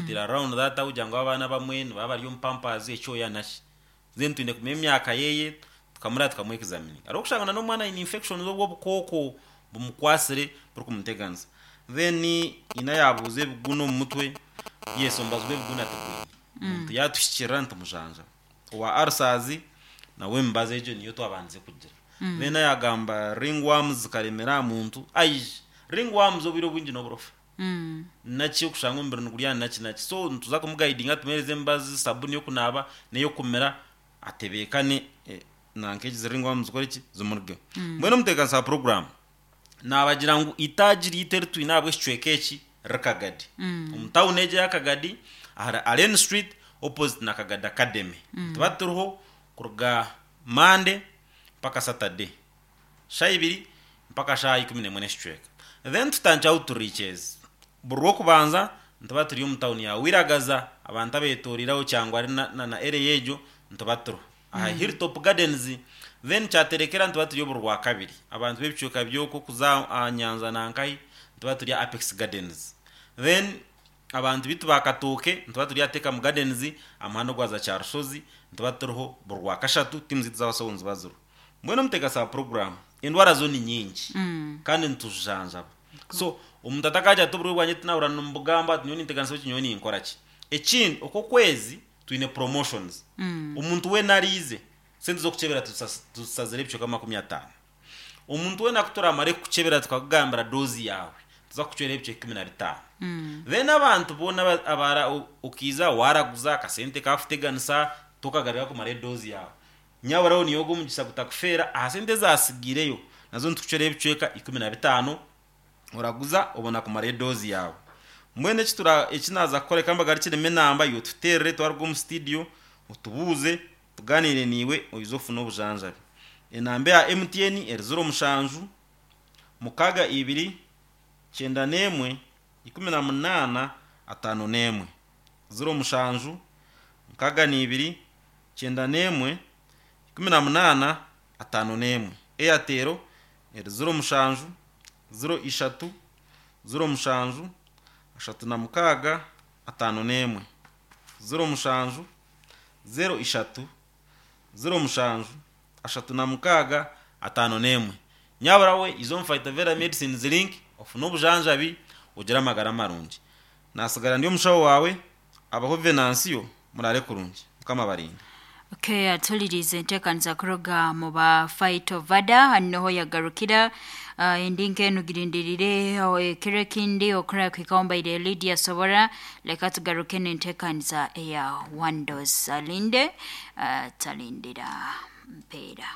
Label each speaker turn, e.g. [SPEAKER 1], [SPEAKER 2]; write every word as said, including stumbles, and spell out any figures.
[SPEAKER 1] Tutira around that aho kugira ngu abaana bamwe nibaba bari omu pampers, ekyoya naki. Then twine kumenya emyaka yeye, tukamureba, tukamwexamininga. Hariho okushanga n'omwana aine infections, obwo obukooko bumukwasire burikumuteganisa. Then ina yabuuza ebiguna omu mutwe. Yes, omubazi gw'ebiguna tigwine. Omuntu yatuhikirira nitumujanjaba. Owa ulcers nawe emibazi egyo niyo twabandize kugira. Then yagamba ringworms zikaremera aha muntu aije. Ringworms obwire obwingi n'oburofa
[SPEAKER 2] Mm.
[SPEAKER 1] naki okushanga omubiri nigurya naki naki, so nituza kumuguidinga, tumuhereze emibazi, sabuni y'okunaaba n'ey'okumira, atebeekane, eh, nanka egi ringworms zikore ki, zimurugeho. Mbwenu omuteekanisa wa program nabagira ngu itaagi ryaitu eri twine ahabw'ekicweka eki riri Kagadi, omu tawuni egi eya Kagadi, ahari Allen Street, opposite na Kagadi Academy. Tuba turiho kuruga Monday mpaka Saturday, shaaha ibiri mpaka shaaha ikumi n'emwe n'ekicweka. Then tutandikira outreaches. Buri rwokubanza nituba turi omu tawuni ya Wiragaza. Abantu abetoriraho Kyangwari na, na, na area egyo, nituba turiho aha Hilltop Gardens. Then Kyaterekera nituba turi buri rwakabiri. Abantu b'ebicweka by'okwo kuza aha Nyanza nankahi, nituba turi aha Apex Gardens. Then abantu bitu bakatooke, nituba turi aha Tecam Gardens, aha muhanda ogwaza Kyarushozi. Nituba turiho buri rwakashatu, tiimu zaitu z'abasawo niziba ziriho. Mbwenu omuteekasa wa program, endwara zo ni nyingi
[SPEAKER 2] Mm.
[SPEAKER 1] kandi nituzijanjaba. So omuntu atakagira ati oburwaire bwangye tinahurira nimubugamba, ati nyowe ninteganisa ki, nyowe ninkora ki. Ekindi, okwo okwezi twine promotions.
[SPEAKER 2] Mm.
[SPEAKER 1] Omuntu weena ariize, sente z'okukyebera tuzisas- tuzisazire ebicweka makumi ataano. Omuntu weena kuturamare kukukyebera, tukakugambira dose yaawe, tuza kukucwera ebicweka ikumi na bitaano.
[SPEAKER 2] Mm.
[SPEAKER 1] Then abantu boona aba- abara o- okiiza waraguza akasente kakuteganisa, tokagarira kumara edozi yawe, nyaburaho niyo ogwo omugisha gutakufeera. Aha sente ezasigireyo nazo nitukucwera ebicweka ikumi na bitaano, oraguza obona kumara edozi yawe. Mbwenu eki tura- eki naza kukora, reka mbagarukiremu enamba iwe, tuterere twaruga omu studio, otubuuze, tuganire niiwe, oize ofune obujanjabi. Enamba ya M T N eri ziro mushanju mukaaga ibiri kyenda n'emwe ikumi na munaana ataano n'emwe, ziro mushanju mukaaga n'ibiri kyenda n'emwe ikumi na munaana ataano n'emwe. Airtel eri ziro mushanju ziro ishatu ziro mushanju ashatu na mukaaga ataano n'emwe, ziro mushanju ziro ishatu ziro mushanju ashatu na mukaaga ataano n'emwe. Nyabura we iza omu Phytoveda Medicines Link, ofune obujanjabi, ogire amagara marungi. Nasigara ndi omushaho wawe abaho Venansiyo. Murare kurungi, Mukama barinde.
[SPEAKER 2] Okay, atulirize enteekaniza kuruga mu ba Phytoveda noho yagarukira. uh, endi nkenu girindirire ekiro ekindi okura kwikaombaire Lydia Sobora. Leka tugaruke n'enteekaniza eya Wandos alinde, uh, talindira mpeera.